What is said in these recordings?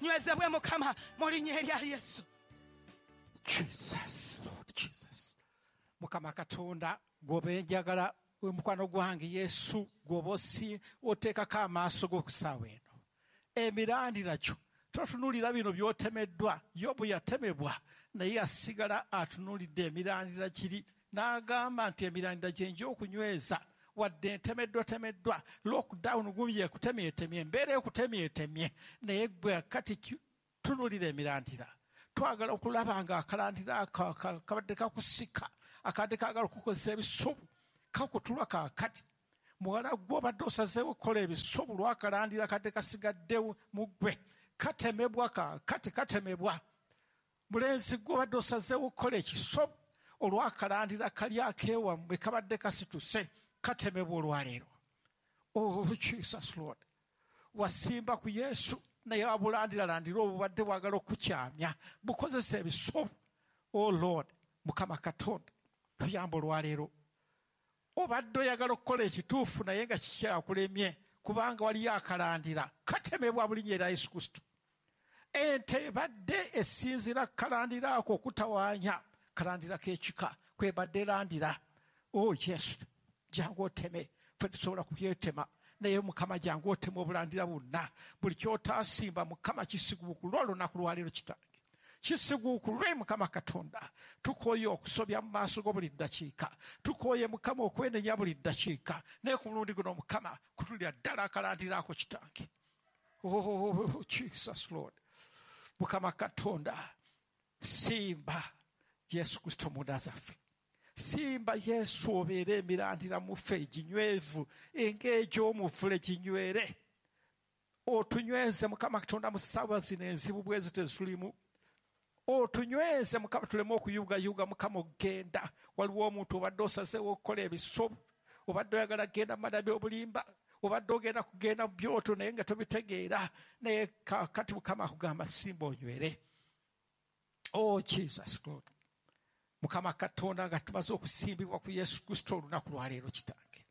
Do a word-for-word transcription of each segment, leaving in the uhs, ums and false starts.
Nywezebwe Mukama mu linnya erya Yesu. Jesus, Lord Jesus. Mukama Katonda gw'oba njagala mukwano gwange Yesu gw'oba osi oteekako amaaso go ku ssaawa eno. Emirandira kyo totunuulira bino by'otemeddwa. Yobu yatemebwa naye yasigala atunuulidde emirandira kiri n'agamba nti emirandira gye nja okunyweza wadde ntemeddwa temeddwa lockdown gumye ekutemyetemye embeera ekutemyetemye naye gwe kati tunuulira emirandira. Twagala okulaba nga akalandira kabadde kakusika akadde kaagala okukozesa ebisubu kakutulwa kaakati. Muwala gwe obadde osazeewo okukola ebisubu lwakalandira kadde kasigaddewo mu ggwe katemebwa kaakati katemebwa. Mulenzi gwe obadde osazeewo okukola ekisobu olwakalandira kali akeewammwe kabadde kasituse katemebwa olwaleero. Oh Jesus Lord, wasimba ku Yesu naye abulandiralandira obubadde bwagala okukyamya bukozesa ebisobu. Oh Lord, Mukama Katonda tuyamba olwaleero. Obadde oyagala okukola ekituufu naye nga kikyakulemye kubanga waliyo akalandira katemebwa mu linnya erya Yesu Kristo. Ente ebadde esinziira kalandira ako okutawaanya kalandira k'ekika kwebadde erandira. Oh Yesu, jangu oteme, ffe tusobola kubyetema naye Mukama jangu oteme obulandira bwonna. Buli ky'otaasimba Mukama kisiguukulwe olunaku lwaleero kitange, kisiguukulwe Mukama Katonda. Tukooye okusobya mu maaso go buli ddakiika, tukooye Mukama okwenenya buli ddakiika, naye ku mulundi guno Mukama kutulira ddala akalandira ako kitange. Oh Jesus Lord, Mukama Katonda simba Yesu Kristo munda zaffe. Simba Yesu obeere emirandira mu ffe eginywevu eng'egy'omuvule ginywere. Otunyweze Mukama Katonda mu ssaawa zino enzibu bwe ziti ezulimu. Otunyweze Mukama tuleme okuyugayuga Mukama okugenda. Waliwo omuntu obadde osazeewo okukola ebisobu, obadde oyagala kugenda mu madabi obulimba, obadde ogenda kugenda mu byoto naye nga tobitegeera, naye kaakati Mukama akugamba simba onywere. Oh Jesus Lord, Mukama Katonda nga tumaze okusimbibwa ku Yesu Kristo olunaku lwaleero kitange,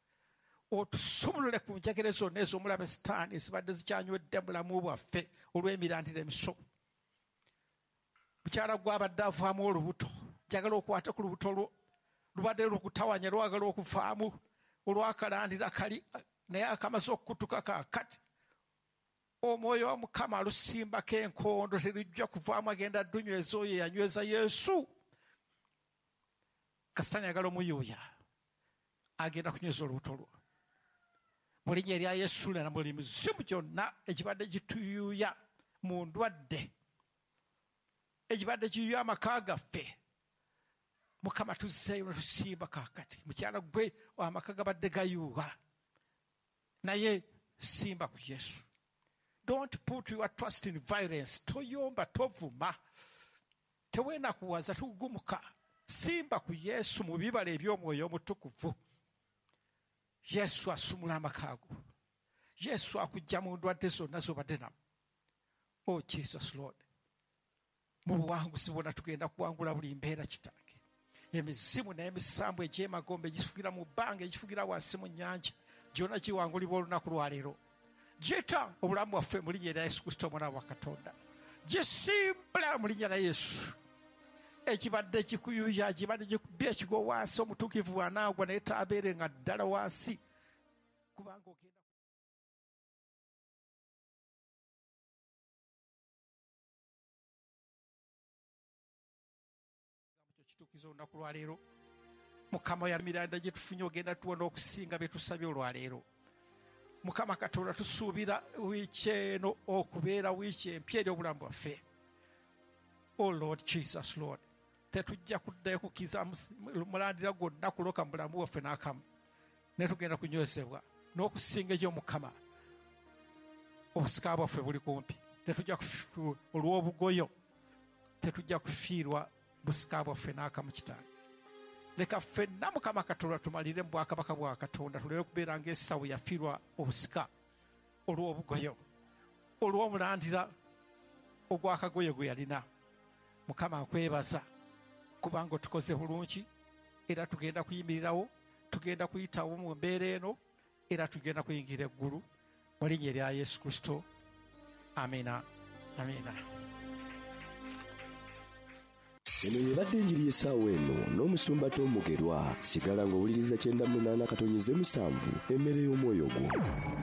otusumulule ku njegere zonna ez'omulabe Sitaani ezibadde zikyanywedde mu bulamu bwaffe olw'emirandira emisobu. Mukyala gw'abadde avaamu olubuto, njagala okwate ku lubuto lwo lubadde lukutawanya lwagala okuvaamu olwakalandira kali naye akamaze okukutuka kaakati. Omwoyo wa Mukama alusimbako enkondo terujja kuvaamu, agenda ddunyweza oyo eyanyweza Yesu. Kasitaani ayagala omuyuuya agenda kunyweza olubuto lwo mu linnya erya Yesu na buli mizimu gyonna egibadde gituyuuya mu ndwadde egibadde giyuuya amaka gaffe. Mukama tuzzeeyo ne tusimba kaakati. Mukyala gwe amaka gabadde gayuuga naye simba ku Yesu. Don't put your trust in violence. Toyomba, tovuma, teweenakuwaza, tugumuka. Simba ku Yesu mu bibala eby'omwoyo omutukuvu. Yesu asumula amaka go. Yesu akujja mu ndwadde zonna z'obadde namu. Oh Jesus Lord, mu buwanguzi bwonna tugenda kuwangula buli mbeera kitange. Emizimu n'emisambu egy'emagombe egifugira mu bbanga egifugira wansi mu nnyanja gyonna giwangulibwa olunaku lwaleero. Gita obulamu bwaffe mu linnya erya Yesu Kristo omwana wa Katonda. Gisimbula mu linnya lya Yesu. Ekibadde kikuyuya kibadde kikubye ekigwo wansi, omutuukirivu bw'anaagwa naye taabeere nga ddala wansi kubanga ogenda kituukiza olunaku lwaleero. Mukama yamiranda gye tufunye ogenda tuwona okusinga bye tusabye olwaleero. Mukama Katonda tusuubira wiiki eno okubeera wiiki empya eri obulamu bwaffe. Oh Lord Jesus Lord, tetujja kuddayo kukkiriza mulandira gwonna kuloka mu bulamu bwaffe n'akamu, naye tugenda kunywezebwa n'okusinga egy'Omukama. Obusika bwaffe buli kumpi, tetujja olw'obugoyo tetujja kufiirwa busika bwaffe n'akamu kitange. Leka ffenna Mukama Katonda tumalire mu bwakabaka bwa Katonda, tuleme kubeera ng'Esawu yafiirwa obusika olw'obugoyo olw'omulandira ogw'akagoye gwe yalina. Mukama nkwebaza kubanga otukoze bulungi, era tugenda kuyimirirawo, tugenda kuyitawo mu mbeera eno, era tugenda kuyingira eggulu mu linnya erya Yesu Kristo. Amina. Amiina. Eno yebadde enjiri y'essaawa eno n'omusumba Tom Mugerwa. Sigala ng'owuliriza kyenda munaana katonyeze musanvu, emmere y'omwoyo gwo.